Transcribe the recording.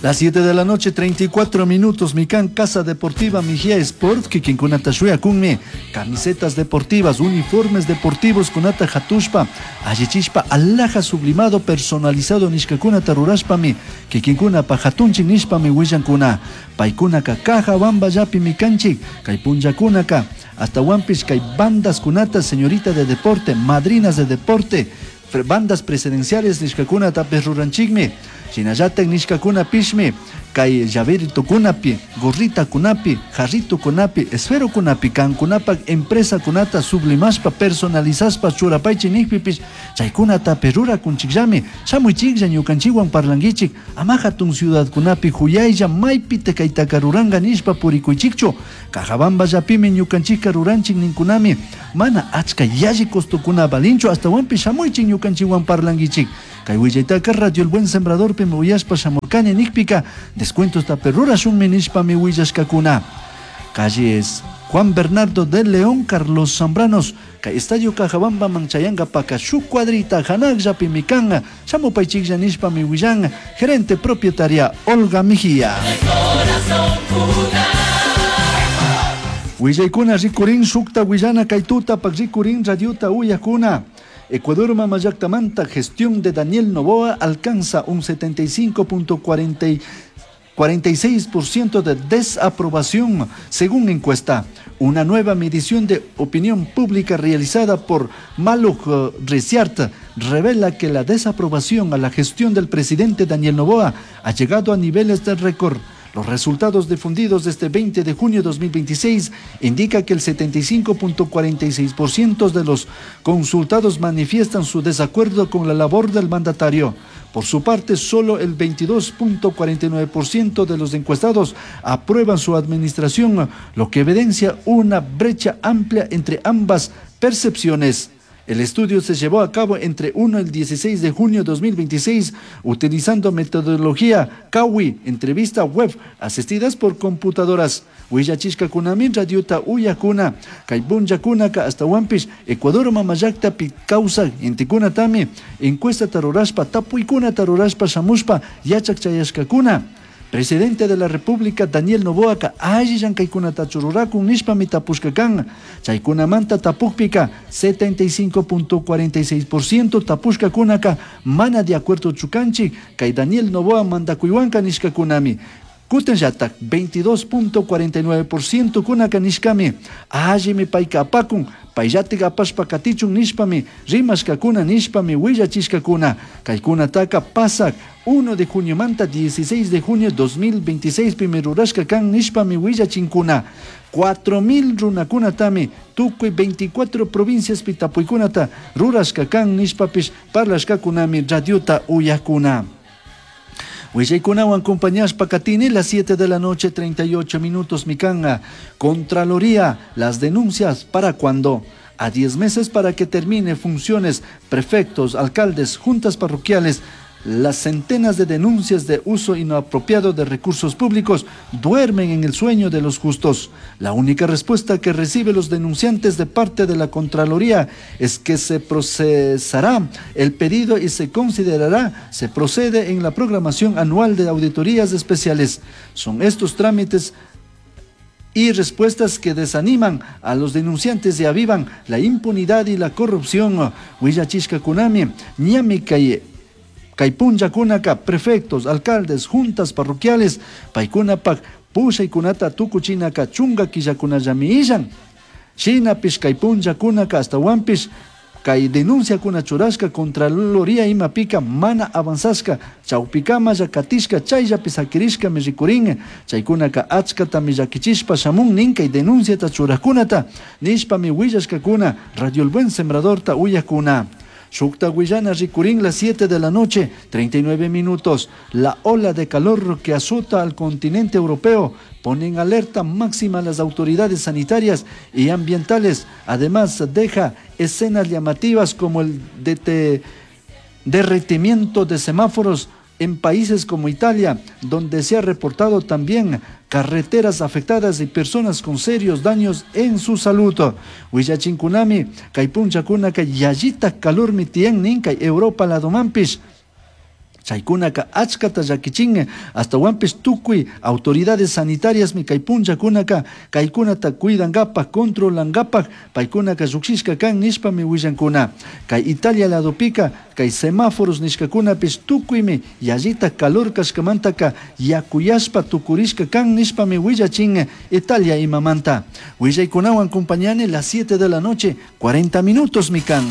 Las 7 de la noche, 34 minutos, Mikan Casa Deportiva Mejía Sport, kikinkunata shuyakunmi, camisetas deportivas, uniformes deportivos kunata hatushpa, allichishpa, alhaja sublimado personalizado nishkakunata rurashpami, kikinkunapa hatunchik nishpami willankuna. Paykunaka Cajabamballapi mikanchik, kay punllakunaka, hasta kay bandas kunata, señorita de deporte, madrinas de deporte, bandas presidenciales nishkakunata ruranchikmi. Shinallatak nishkakunapishmi kay llaveritokunapi, gorritakunapi, jarritokunapi, esferokunapi, kankunapak empresakunata sublimashpa, personalizashpa churapaychik nikpipish chaykunatapi rurakunchikllami. Shamuychiklla ñukanchikwan parlankichik, ama hatun ciudadkunapi huyaylla maypi kaytaka ruranka nishpa purikuychikchu. Cajabamballapimi ñukanchikka ruranchik ninkunami, mana achka yalli costokuna valinchu, astawanpish shamuychik ñukanchikwan parlankichik. Kay willaytaka Radio El Buen Sembradorpimi uyashpa shamurkani nikpika descuentosta rurashunmi nishpami willashkakuna. Calles Juan Bernardo de León, Carlos Zambranos, kay Estadio Cajabamba chayankapaka shuk cuadrita hanakllapimi kan, shamupaychiklla nishpami willan, gerente propietaria Olga Mejía. Willaykuna rikurin shukta willana kay tutapak rikurin radiota uyakuna. Ecuador mamallaktamanta gestión de Daniel Noboa alcanza un 75.46% de desaprobación, según encuesta. Una nueva medición de opinión pública realizada por Maluk Research revela que la desaprobación a la gestión del presidente Daniel Noboa ha llegado a niveles de récord. Los resultados difundidos desde 20 de junio de 2026 indica que el 75.46% de los consultados manifiestan su desacuerdo con la labor del mandatario. Por su parte, solo el 22.49% de los encuestados aprueban su administración, lo que evidencia una brecha amplia entre ambas percepciones. El estudio se llevó a cabo entre 1 y el 16 de junio de 2026, utilizando metodología CAWI, entrevista web, asistidas por computadoras. Willachishkakunami radiota uyakuna, kay punllakunaka astawanpish, Ecuador mamallaktapi kawsak intikunatami, encuesta rurashpa, tapuykunata rurashpa shamushpa, yachak chayashkakuna. Presidente de la República Daniel Noboaka alli llankaykunatachu rurakun nishpami tapushka kan. Chaykunamanta tapukpika 75.46% tapushkakunaka mana de acuerdo chukanchik kay Daniel Noboa mandakuywanka nishkakunami. Kutinllatak 22.49% kunaka nishkami allimi payka apakun payllatik apashpa katichun nishpami rimashkakuna nishpami willachishkakuna. Kaykunataka pasak 1 de juniomanta 16 de junio 2026 pimi rurashka kan nishpami willachinkuna. 4.000 runakunatami tukuy 24 provincias pi tapuykunata rurashka kan nishpapish parlashkakunami radiota uyakuna. Willaykunawan acompañashpa katini las 7 de la noche 38 minutos mikanga. Contraloría, las denuncias para cuándo? A 10 meses para que termine funciones, prefectos, alcaldes, juntas parroquiales, las centenas de denuncias de uso inapropiado de recursos públicos duermen en el sueño de los justos. La única respuesta que reciben los denunciantes de parte de la Contraloría es que se procesará el pedido y se considerará, se procede en la programación anual de auditorías especiales. Son estos trámites y respuestas que desaniman a los denunciantes y avivan la impunidad y la corrupción. Willachishkakunami, ñami kay kay punllakunaka prefectos, alcaldes, juntas parroquiales, paykunapak pushaykunata tukuchinaka chunka killakunallami illan. Shinapish kay punllakunaka astawanpish kay denunciakuna churashka Contraloría imapika mana avanzashka chawpikamalla katishka chayllapi sakirishkami rikurin chaykunaka achkatami llakichishpa shamun nin kay denunciata churajkunata nishpami willashkakuna Radio El Buen Sembradorta uyakuna. Shukta willana rikurin las 7 de la noche, 39 minutos. La ola de calor que azota al continente europeo pone en alerta máxima a las autoridades sanitarias y ambientales. Además, deja escenas llamativas como el derretimiento de semáforos en países como Italia, donde se ha reportado también carreteras afectadas y personas con serios daños en su salud. Willachinkunami, kay punllakunaka yallita calormi tiyan nin kay Europa ladomanpish. Chaicunaca achcata llaquichin, ashtahuanpish tucui autoridades sanitariasmi cai punllacunaca caicunata cuidangapaj, controlangapaj paicunaca llujshishca can nishpami huillancuna. Cai Italia ladopica cai semáforos nishcacunapish tucuimi yallitaj calor cashcamantaca yacuyashpa tucurishca can nishpami huillachin Italia imamanta. Huillaicunahuan compañani las 7 de la noche, 40 minutos mi can.